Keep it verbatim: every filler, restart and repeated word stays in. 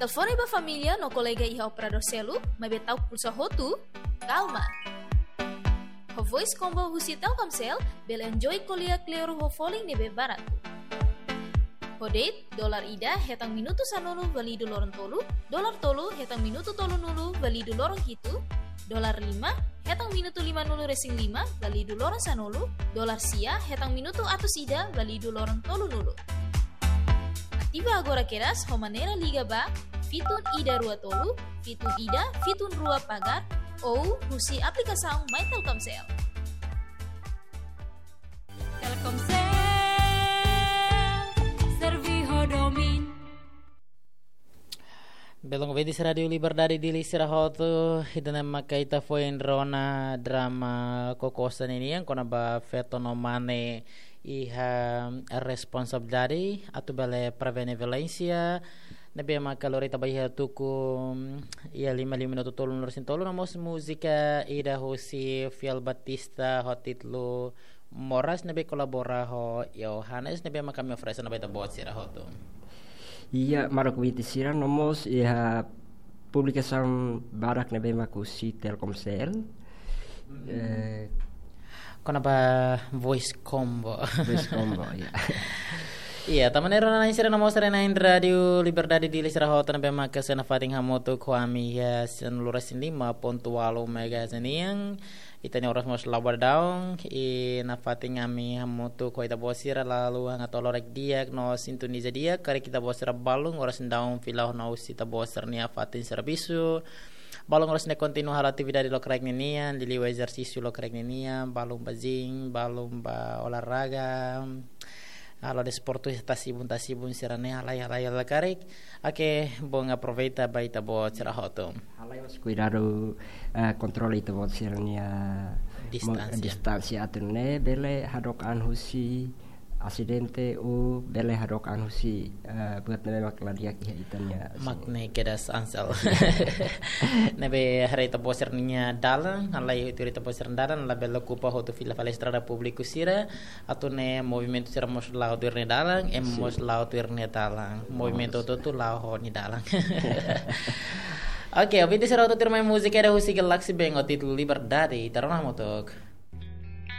Telefone ba família no kolega iha operadór seluk, maibé ta'uk pulsa hotu, kalma. Ho Voice Combo husi Telkomsel, bele enjoy ko'alia kleur ho folin ne'ebé baratu. Ho date, dolar ida hetan minutu sanulu válidu loron tolu, dolar tolu hetan minutu tolunulu válidu loron hitu, dolar lima hetan minutu limanulu resin lima válidu loron sanulu, dolar sia hetan minutu atus ida válidu loron tolunulu. Ativa agora kedas ho maneira liga ba fitun ida rua tolu, fitun ida, fitun rua pagar, ou husi aplikasaun My Telkomsel. Telkomsel, servi ho domin. Belun ouvinte Rádiu Liberdade Dili sira hotu, ida-ne'e maka ita foin rona drama Kokosa ninian, kona-ba feto no mane iha responsabilidade atu bele prevene violénsia. Ne'ebé maka lori ita ba iha tuku, iha lima, lima minutu tolunulu resin tolu, no mós múzika ida husi Fiel Batista ho títulu Moras ne'ebé kolabora ho Yohanes ne'ebé maka ami oferese ona ba ita-boot sira hotu. Iya, maluk ouvinte sira, no mós iha publikasaun badak ne'ebé maka husi Telkomsel. Eh, kona-ba Voice Combo. Voice Combo, ya. Iya, tanba ne'e rona-na'in sira no mós haree-na'in Rádiu Liberdade Dili sira hotu ne'ebé maka sei nafatin hamutuk ho ami iha sanulu resin lima pontu ualu megahertz nian. Ita-nia oras mós la'o ba daudaun, i nafatin ami hamutuk ho ita-boot sira lalu hanga to'o loraik di'ak no sintoniza di'ak, karik ita-boot sira balun oras daudaun fila ona husi ita-boot sira-nia fatin servisu. Balun oras ne'e kontinua halo atividade lokraik ninian, liuliu ezersísiu lokraik ninian, balun ba gym, balun ba olahraga, halo desportu tasi-ibun tasi-ibun sira-ne'e halai, halai, halai karik. Oke, bom, aproveita ba ita-boot sira hotu. Halai mós kuidadu, eh, kontrola ita-boot sira-nia mo-, distánsia. Distánsia atu nune'e bele hadook an husi asidente ou bele hadook an husi, eh, buat ne'ebé mak la di'ak iha ita-nia. Mak ne'e kedas Ansel. Ne'ebé haree ita-boot sira-nia dalan, halai tuir ita-boot sira-nia dalan, labele okupa hotu fila fali estrada públiku sira, atu nune'e movimentu sira mós la'o tuir nia dalan, ema mós la'o tuir nia dalan. Movimentu hotu-hotu la'o ho nia dalan. Oke, ouvinte sira hotu, tuirmai múzika ida husi Galaxy Band ho títulu Liberdade, ita rona hamutuk.